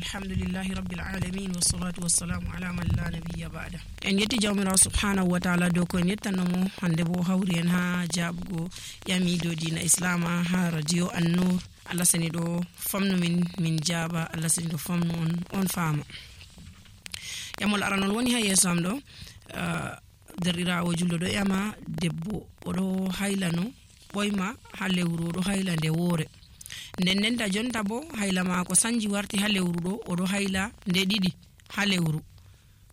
alhamdulillahi rabbil alamin wassalatu wassalamu ala man la nabiyya ba'da. En yetti jawmirawo subhanahu wa ta'ala dow ko en yettanomo hande bo hawri en ha jabugo yamido dina islama ha radio an-nur. Allah sani do famnu min jaba, Allah sani do famnu on fama. Yamol aranol woni ha yeso am do derirawo juldo do yama debbo odo haylano boyma ha lewru do haylande wore. Nden da jonta bo hayla mako sanji warti ha lewru do odo hayla nde didi ha lewru.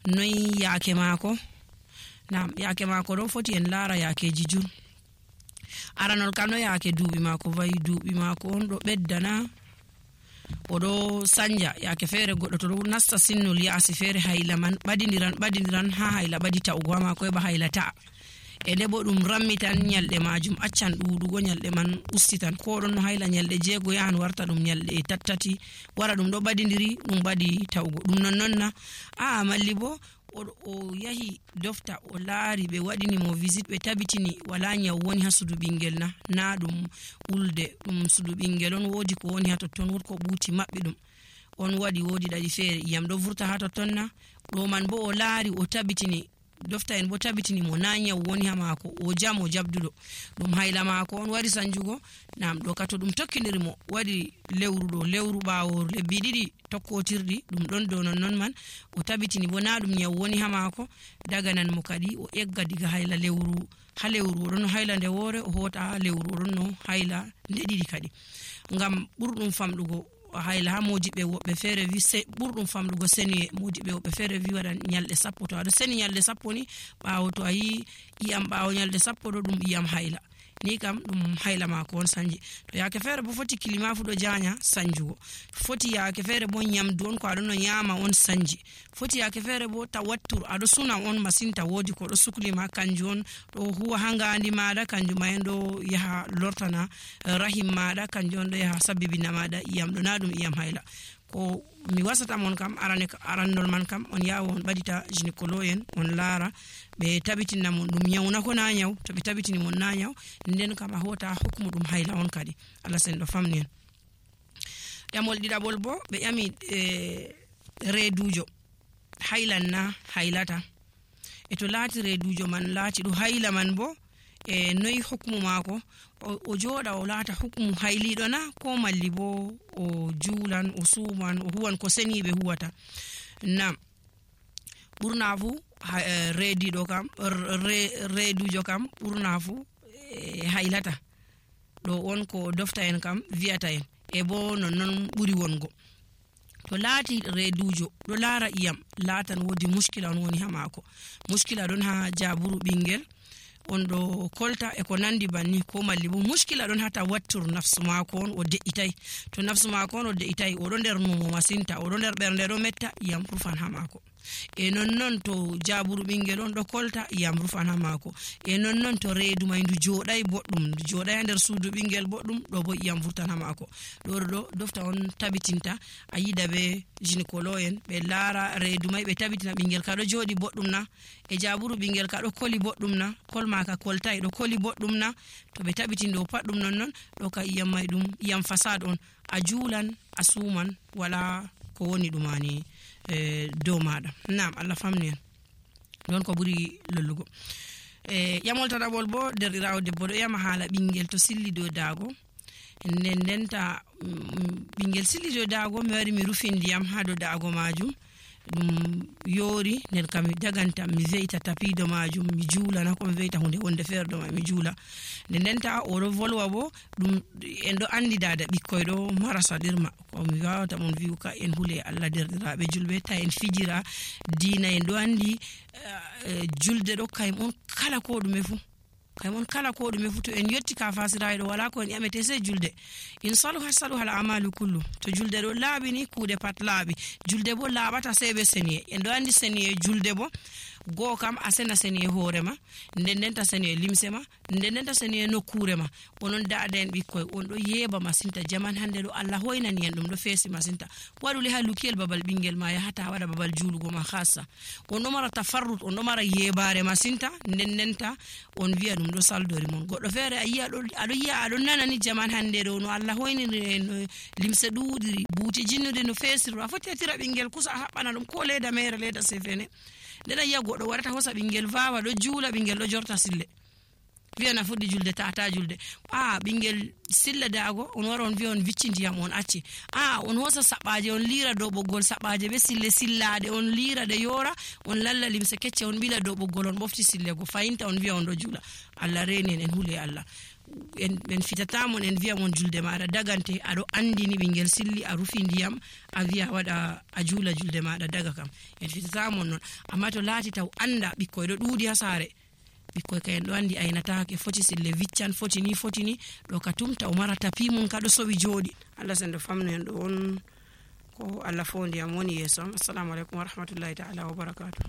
Noy yaake mako? Naam, yaake mako do foti en lara yaakeji jur. Aranol kano yaake duubi mako vayi duubi mako on do beddana odo sanja yaake fere goddo to nasta sinnol yaasi fere hayla man badindiran ha hayla badita ugo mako e ba hayla ta. E debo dum rammitan nyalde majum accan duudugo nyalde man ustitan ko don no hayla nyalde jeego yahan warta dum nyalde tattati wara dum do badindiri dum badi tawgo dum nonnonna malli bo o yahi dofta o laari be wadini mo visit be tabitini wala nyaw woni ha sudu bingel na dum ulde dum sudu bingel on wodi ko woni ha totton wod ko buuti mabbi dum on wodi dadi fere yam do vurta ha totton na do man bo o laari o tabitini dofta en bo tabitini mo nanya woni ha mako o jamo jabdudo dum hayla mako on wari sanjugo nam do kato dum tokkiniri mo wadi lewru bawo lebbi didi tokkotirdi dum don do non man o tabitini bo na dum nyaw woni ha mako daga nan mo kadi o egga diga hayla lewru don hayla nde wore o hota lewru don no hayla nde didi kadi ngam burdum famdugo hayla ha mojibe wobbe fere vi burdum famdugo seni mojibe wobbe fere vi wadan nyalde sappo to ado seni nyalde sappo ni baawo to ayi iyam baawo nyalde sappo do dum iyam hayla ni kam dum hayla mako on sanji to yaake fere bo foti kilima fu do janya sanjugo foti yaake fere bo nyamdu on ko ado no nyama on sanji foti yaake fere bo tawattur ado suna on masinta wodi ko do suklima kanju on do huwa hanga andi maada kanju mayendo yaha lortana rahim maada kanju on do yaha sabibina maada iyam do na dum iyam hayla ko mi wasata mon kam arandol man kam on yawo on badita gynecologue on lara be tabitina mon dum nyawna ko na nyaw to be tabitini mon na nyaw nden kam a hota hukmu dum hayla on kadi Allah sen do famni en yamol didabol bo be yami redujo haylan na haylata e to laati redujo man laati do hayla man bo e noy hukmu mako o joda o laata hukmu haylido na ko malli bo o juulan o suman o huwan ko seni be huwata nam burnafu redido kam redujo kam burnafu haylata do on ko dofta en kam viata en e bo non buri wongo to laati redujo do lara iyam laatan wodi muskila on woni ha mako muskila don ha jaburu bingel on do kolta e ko nandi banni ko malli bo muskila don hata wattur nafsu mako on o de'itai to nafsu mako on o de'itai o do nder numo masinta o do nder bernde do metta iyam rufan ha mako e non to jaburu bingel on do kolta iyam rufan ha mako e non to reedu maydu jodai boddum jodai nder suudu bingel boddum do bo iyam vurtan ha mako do dofta on tabitinta ayida be gynecologue be lara reedu may be tabitina bingel ka do jodi boddum na e jaburu bingel ka do koli boddum na kol maka koltai do koli boddum na to be tabitin do paddum non do ka iyam may dum iyam fasad on a juulan asuman wala ko woni dumani do mada nam Allah famni don ko buri lollugo yamol tadabol bo derirawo debbo do yama hala bingel to silli do dago ndenta bingel silli do dago mi wari mi rufindi yam ha do dago majum dum yori nen kam daganta mi veita tapido majum mi juula na ko mi veita hunde wonde ferdo ma mi juula ndenta o do volwa bo dum en do andi dada bikkoy do marasa dirma ko mi wawata mon viuka en hule Allah derdirabe julbe ta en fijira diina en do andi julde do kay mon kala ko dum fu to en yotti ka fasiraydo wala ko en yamete se julde in saluha al amalu kullu to julde do laabini kuude pat laabi julde bo laabata sebe seniye en do andi seniye julde bo go kam asena seni hoorema ndendenta seni limsema ndendenta seni nokurema onon daada en bikkoy on do yeba masinta jaman hande do Allah hoynani en dum do feesi masinta waduli ha lukiel babal bingel ma yahata wada babal julugo ma khassa on do mara tafarrut on do mara yebare masinta ndendenta on wi'a dum do saldori mon goddo fere ayiya ado nanani jaman hande do no Allah hoynani no limse duudiri buuti jinnude no feesiru afoti atira bingel kusa habbana dum ko leda mere leda sefene deda yiya goddo warata hosa bingel vawa do juula bingel do jorta sille wi'a na fuddi julde tata julde bingel silla daago on wara on wi'a on viccindiyam on acci on hosa sabaje on lira do boggol sabaje be sille sillade on lira de yora on lalla limse kecce on bila do boggol on bofti sille go fayinta on wi'a on do juula Allah renen en hule Allah en fitatamon en wi'a mon julde maada dagante ado andini bingel silli a rufi ndiyam a wi'a wada a juula julde maada daga kam en fitatamon non amma to laati taw anda bikkoy do duudi ha saare bikkoy kayen do andi aynata ke foti sille viccan foti ni do ka tumta o mara tapi mun ka do sowi jodi Allah sendo famno en do on ko Allah fondi am woni yeso assalamu alaikum wa rahmatullahi ta'ala wa barakatuh